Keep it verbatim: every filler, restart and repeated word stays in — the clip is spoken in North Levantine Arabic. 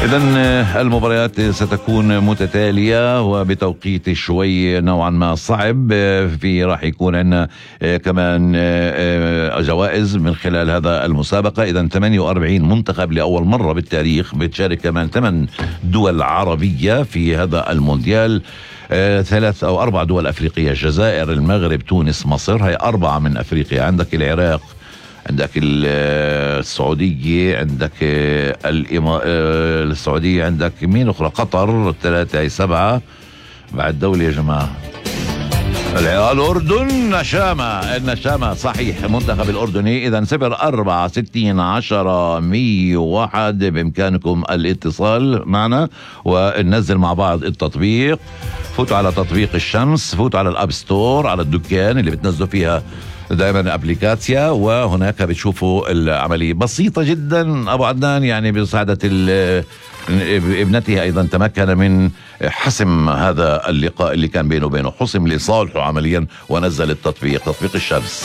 إذن المباريات ستكون متتالية وبتوقيت شوي نوعا ما صعب. في راح يكون عندنا كمان جوائز من خلال هذا المسابقة. إذن ثمانية وأربعين منتخب لأول مرة بالتاريخ بتشارك، كمان ثمان دول عربية في هذا المونديال، ثلاث أو أربع دول أفريقية: الجزائر، المغرب، تونس، مصر. هي أربعة من أفريقيا. عندك العراق، عندك السعودية، عندك السعودية، عندك مين أخرى؟ قطر. ثلاثة هي سبعة. بعد دولة يا جماعة، الأردن، نشامة. النشامة صحيح، منتخب الأردني. إذن صفر أربعة ستين عشرة مية واحد بإمكانكم الاتصال معنا وننزل مع بعض التطبيق. فوتوا على تطبيق الشمس، فوتوا على الأب ستور، على الدكان اللي بتنزلوا فيها دائما ابليكاتيا، وهناك بتشوفوا العملية بسيطة جدا. أبو عدنان يعني بمساعدة ابنتها أيضا تمكن من حسم هذا اللقاء اللي كان بينه وبينه، حسم لصالحه عمليا ونزل التطبيق، تطبيق الشمس.